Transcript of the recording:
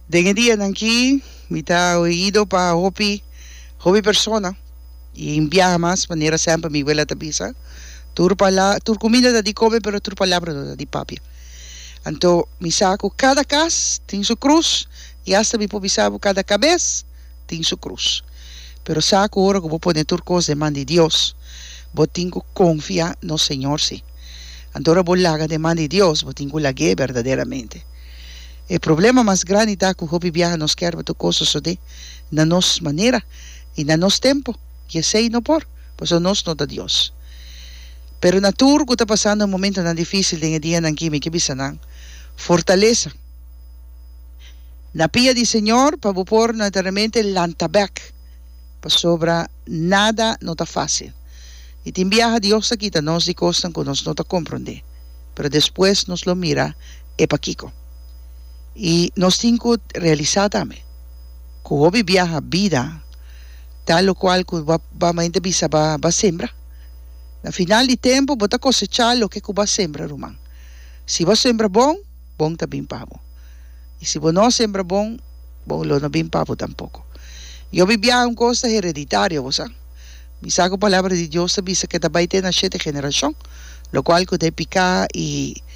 Den e dianan aki mi ta oido pa hopi hopi persona y un biaha mas manera semper mi wela ta bisa tur pala tur cuminda ta di come pero tur palabra no ta di papia. Anto mi sa cu cada cas tin su cruz y hasta mi por bisa bo cada cabes tin su cruz. Pero sa cu ora cu bo pone tur cos den man di Dios bo tin cu confia nos Señor si. Anto ora bo laga den man di Dios bo tin cu lag'é berdaderamente. E problema mas grandi ta ku hopi biaha nos kier pa tur kos sosodé na nos manera i na nos tempu, i esei no por, pasobra nos no ta Dios. Pero na tur ku ta pasando momentonan difísil den e dianan aki, mi ke bisa nan, Fortalesa na pia di Señor pa bo por naturalmente lanta bèk, pasobra nada no ta fásil. I tin biaha Dios ta kita nos di kosnan ku nos no ta komprondé, pero despues nos lo mira e pakiko. I nos tin ku realisá tambe ku hopi biaha bida ta lokual ku bo a mente bisa bo a sembra. Na final di tempu bo ta kosechá loke ku bo a sembra, ruman. Si bo a sembra bon, bon ta bin pa bo. I si bo no a sembra bon, bon lo no bin pa bo tampoko. I hopi biaha un kos ta hereditario, bo sa. Mi sa ku Palabra di Dios ta bisa ku e ta bai te na shete generashon, lokual ku ta e piká i.